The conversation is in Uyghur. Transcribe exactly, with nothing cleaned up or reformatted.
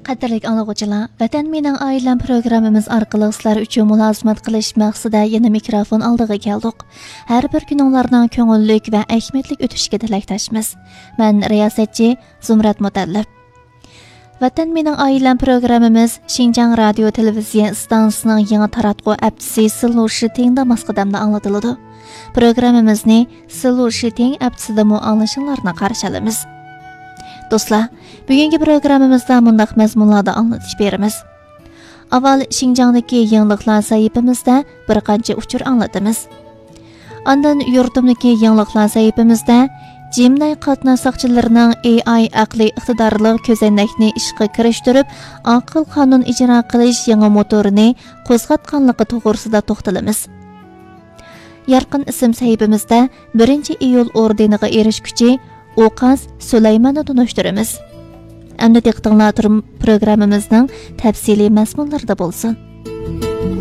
قەدىرلىك ئاڭلىغۇچىلار، ۋەتەن مېنىڭ ئائىلەم پروگراممىمىز ئارقىلىق سىلەر ئۈچۈن مۇلازىمەت قىلىش مەقسىتىدە يەنە مىكروفون ئالدىغا كەلدۇق. ھەر بىر كۈنۈڭلارنىڭ كۆڭۈللۈك ۋە ئەھمىيەتلىك ئۆتۈشىگە تىلەكداشمىز. مەن رىياسەتچى زۇمرەت مۇتەللىپ. ۋەتەن مېنىڭ ئائىلەم پروگراممىمىز شىنجاڭ رادىيو تېلېۋىزىيە ئىستانسىسىنىڭ يېڭى تاراتقۇ ئەپچىسى سىلۇ شىتىڭدا ماس قەدەمدە ئاڭلىتىلىدۇ. پروگراممىمىزنى سىلۇ شىتىڭ ئەپچىسىدىمۇ ئاڭلىشىڭلارنى قارشى ئالىمىز. دوستلار، بۈگۈنكى پروگراممىمىزدا مۇنداق مەزمۇنلاردا ئاڭلىتىش بېرىمىز. ئاۋۋال شىنجاڭدىكى يېڭىلىقلار سەھىپىمىزدە بىر قانچە ئۇچۇر ئاڭلىتىمىز. ئاندىن يۇرتۇمدىكى يېڭىلىقلار سەھىپىمىزدە جىمنەي قاتناش ساقچىلىرىنىڭ ئېي ئاي ئەقلىي ئىقتىدارلىق كۆزەينەكنى ئىشقا كىرىشتۈرۈپ، ئاقىل قانۇن ئىجرا قىلىش يېڭى موتورىنى قوزغاتقانلىقى توغرىسىدا توختىلىمىز. يارقىن ئىسىم سەھىپىمىزدە بىرىنچى ئىيۇل ئوردېنىغا ئېرىشكۈچى ئوقاس سۇلايماننى تونۇشتۇرىمىز. ئەمدى دىققىتىڭلار تۇرم-، پروگراممىمىزنىڭ تەپسىلىي مەزمۇنلىرىدا بولسۇن.